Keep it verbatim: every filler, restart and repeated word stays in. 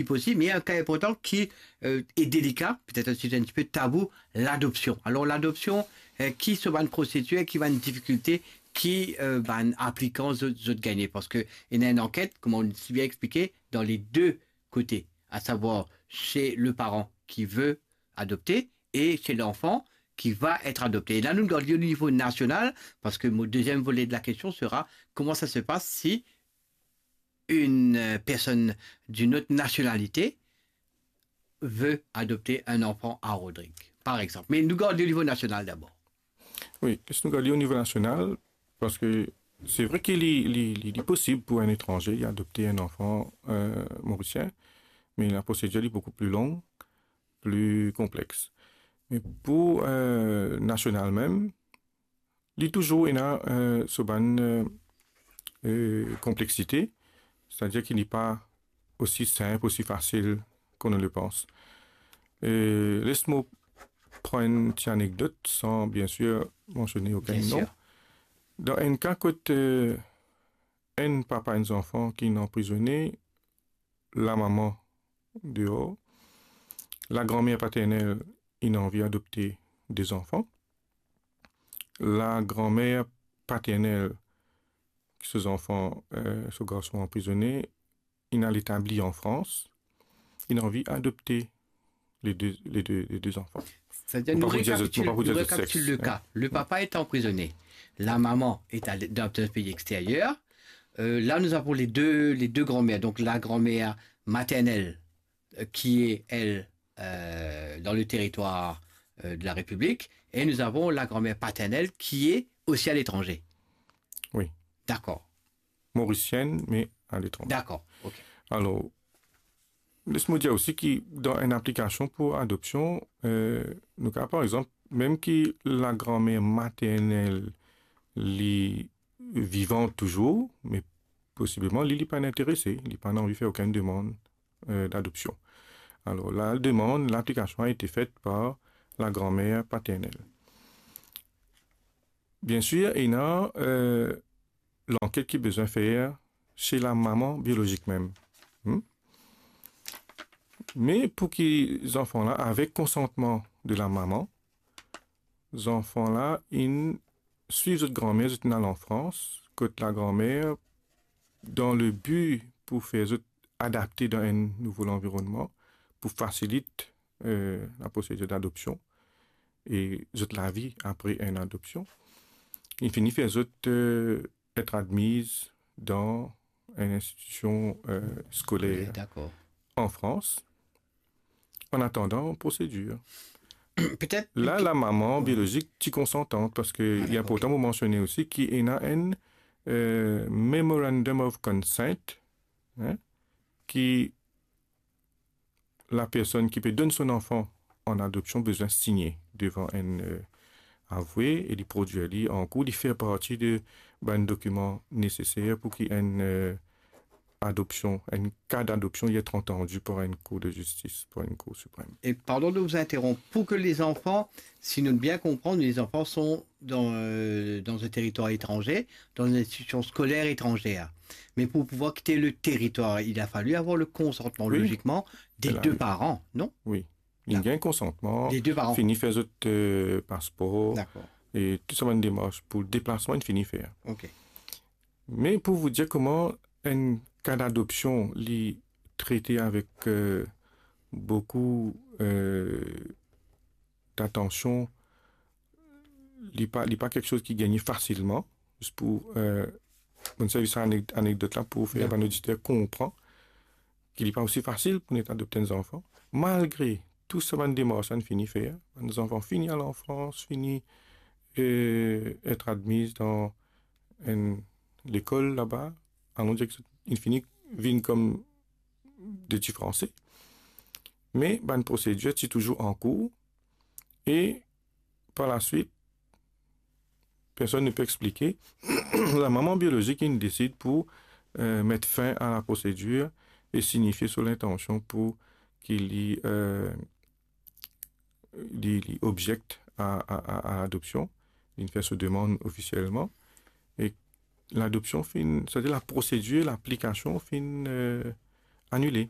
ki posib, me enn ka inportan ki, euh, e delika, petet enn size enn tipe tabou, ladopsion. Alor, ladopsion, euh, ki so bann prosedir, ki bann difikilte, ki, euh, bann aplikan zot, zot gagne? Parski ena enn anket, kouma ou si bien explike, dan le de kote, asavwar se le paran ki ve adopte e se lanfan ki va et adopte. E la, nou gard li o nivo nasional, parski mo deziem vole de la kestion sera, kouma sa se pas si une, euh, personne d'une autre nationalité veut adopter un enfant à Rodrigue, par exemple. Me nou gard li o nivo nasional dabor. Wi, si nou gard li o nivo nasional, parski se vre ki li, li, li, li posib pou enn etranze li adopte enn zanfan, euh, morisien, me la prosedir li boukou pli long, pli konplex. Me pou, euh, nasional mem, li touzour ena, euh, so bann, euh, euh, konplexite, setadir ki li pa osi sinp, osi fasil kot nou le pans. Euh, les mo pran enn ti anekdot, san, biensir, mansione okenn non. Dan enn ka kot, euh, enn papa enn zanfan ki inn anprizone, lamama deor, lagranmer paternel inn anvi adopte de zanfan. Lagranmer paternel ki so zanfan, euh, so garson anprizone, inn al etabli an Frans, inn anvi adopte le de, le de, le de zanfan. Setadir, nou rekapitil, nou rekapitil le ka. Le papa est emprisonné. La maman est à l-, dans un pays extérieur. Euh, là, nous avons les deux, les deux grands-mères. Donc, la grand-mère maternelle, euh, qui est, elle, euh, dans le territoire, euh, de la République. Et nous avons la grand-mère paternelle qui est aussi à l'étranger. Wi. D'accord. Morisienn, me aletranze. Dakor, ok. Alor, les mo dir osi ki dan enn aplikasion pou adopsion, euh, nou kapav, par exanp, mem ki lagranmer maternel li vivan touzour, me posibleman li, li pa interese, li pa anvi fer okenn demann, euh, d'adoption. Alor, la demande, l'application a été faite par la grand-mère paternelle. Biensir, ena, euh, lanket ki bizin fer se lamama biolozik mem. Hmm? Me pou ki zanfan la, avek konsantman de lamama, zanfan la inn swiv zot granmer, zot inn al an Frans, kot lagranmer, dan le bi pou fer zot adapte dan enn nouvo lanvironnman, pou fasilit, euh, laprosedir d'adopsion e zot lavi apre enn adopsion, inn fini fer zot, euh, et admiz dan enn institision, euh, skoler. Wi, dakor. An Frans, an atandan prosedir. Petet la, lamama biolozik ti konsantan, parski li inportan pou mansione osi ki ena enn, euh, memorandum of consent, hein, ki lapersonn ki pe donn so zanfan an adopsion bizin signe devan enn, euh, avwe e li prodwir li an kour, li fer parti de bann dokiman neseser pou ki enn, euh, adopsion, enn ka d'adopsion, li et antandi par enn kour de zistis, par enn kour siprem. Et pardon de vous interrompre, pour que les enfants, si nous bien comprenons, les enfants sont dans, euh, dans un territoire étranger, dans une institution scolaire étrangère. Mais pour pouvoir quitter le territoire, il a fallu avoir le consentement, wi, logiquement, des deux parents, non? Wi. Li gagn konsantman, les deux parents. Fini fer zot, euh, paspor, dakor, e tou sa bann demars pou deplasman, inn fini fer. Ok. Me pou vous dire kouma enn ka d'adopsion li trete avek, euh, boukou, euh, datansion, li pa, li pa kiksoz ki gagne fasilman, zis pou, euh, mo servi sa anek-, anekdot la pou fer bann oditer konpran ki li pa osi fasil pou nou adopte enn zanfan, malgre tou sa bann demars la inn fini fer, bann zanfan fini al an Frans, fini, euh, et admiz dan enn lekol laba, alon dir ki inn fini vinn kom de ti Franse. Me bann prosedir ti touzour an kour, e par la swit, personn ne pe explike, lamama biolozik inn desid pou, euh, met fin a laprosedir e signifie so lintansion pou ki li, euh, li, li objekt a, a, a, a ladopsion, li fer so demann ofisielman, e ladopsion finn, setadir laprosedir, laplikasion finn, euh, anile.